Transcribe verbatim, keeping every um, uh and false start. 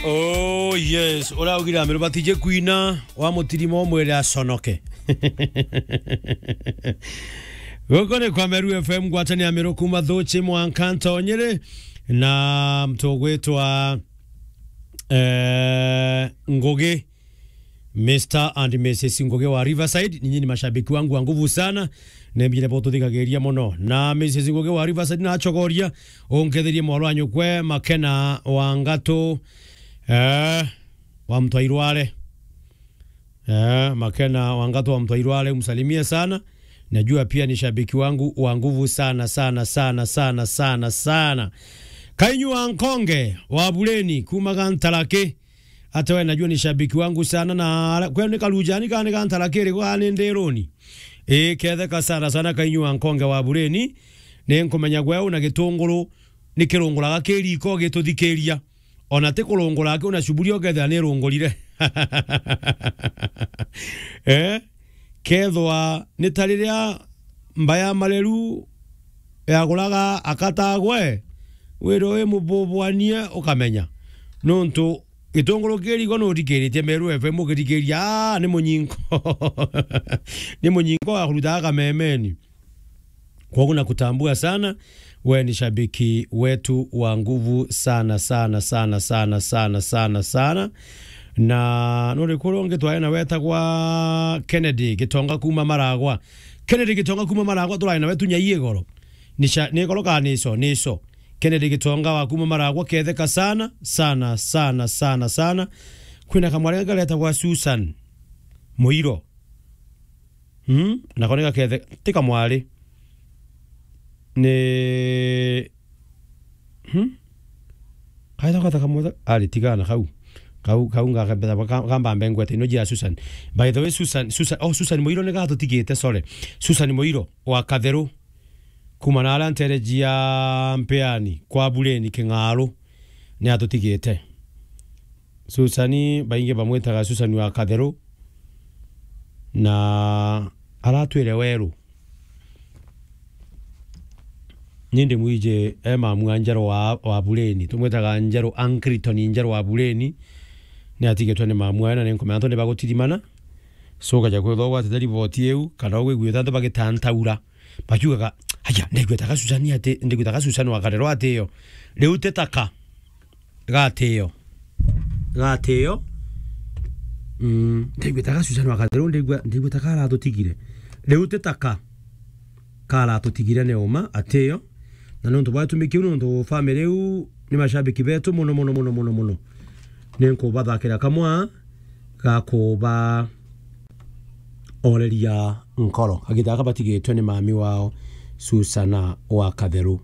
Oh yes, uraugire Ameru batije kwina, wa mutirimo mwire aconoke. Guku ni kwa Meru F M, ngwatania Ameru kuma Thuchi mwanka Ntonyere, na mtu ugwitwa, eh, Ngugi, Mister and Missus Ngugi wa Riverside. Ninyi ni mashabiki wangu wa nguvu sana, nembire bo tuthigagiria muno. Na Missus Ngugi wa Riverside nachogoria, unketherie mwarwa nyukwe Makena wa Ngatu, eh, wa Mtwairware. Eh, Makena wa Ngatu wa Mtwairware, umsalimie sana. Najua pia ni shabiki wangu wa nguvu sana, sana, sana, sana, sana, sana. Kainyu wa Nkonge wa Bureni, kuma Gantaraki. Hata we najua ni shabiki wangu sana, na ara-, kwenu ni Karujani kana ni Gantaraki iriku, kana ni Ndiruni? Ii, ketheka sana sana Kainyu wa Nkonge wa Bureni. Ni nkumenya gwe una gitunguru, ni kirunguraga kiriko gituthikiria. Ona ti kurungura aki, una cuburi ukethira ni irungurire. Eh? Kethwa ni ta riria mba ya mareru yaguraga akatagwe, wire wi mububwanie ukamenya. Nontu gitunguru kirigo nuthikiritie Meru F M ugithikiria, aa, ni munyinko. Ni munyinko wa kurutaga kamemeni. Kwogu nakutambua sana, we ni shabiki wetu wa nguvu sana, sana, sana, sana, sana, sana, sana. Na nuri kuru ungi twari na wetagwa Kennedy Gitonga kuma Maragwa. Kennedy Gitonga kuma Maragwa, turari na wetu nyai igoro. Ni sha-, ni igoro kana ni ico? Ni ico. Kennedy Gitonga wa kuma Maragwa, ketheka sana, sana, sana, sana, sana. Kwina kamwari garetagwa Susan Muiro. Hmm? Nako ni gakethe, ti kamwari. Ni, hmm? Kaitha kwata kamwata, ari tigana kau. Kau, kau ngakambetha, ka-, kamba mbengwete, ino jia Susan. By the way, Susan, Susan, oh, Susan Muiro ni gatutigite, sorry. Susan Muiro wa Katheru. Kuma na aria ntereji ya Mpeani, kwa Bureni King'aru, ni atutigite. Susani, baingi bamwitaga Susani wa Katheru, na aratwire weru. Ni ndi mwiji e mamu a Njeru wa, wa Bureni. Tumwitaga Njeru, Angliton Njeru wa Bureni. Ni atigitwe ni mamu awe, na ni nkumenya antu ni bagutirimana. So, ukaja kwithwa ugwatite riboti iu, kana ugwigwita antu bagitantaura. Bakiugaga, "Aya, ndaigwetaga Susani ati, ndaigwetaga Susani wa Katheru atio." Riu ti taka. Gatio. Gatio. Mm, ndaigwetaga Susani wa Katheru, ndaigua, ndaigwetaga aratutigire. Riu ti taka. Karatutigire ni uma, atio. Na nontu bwa gitumi kiu, nontu family iu ni mashabiki betu muno, muno, muno, muno, muno. Ni nkubathakira kamwe ga kuba oreria nkoro. Kagita gaka batigitwe ni mami wao, Susana wa Katheru.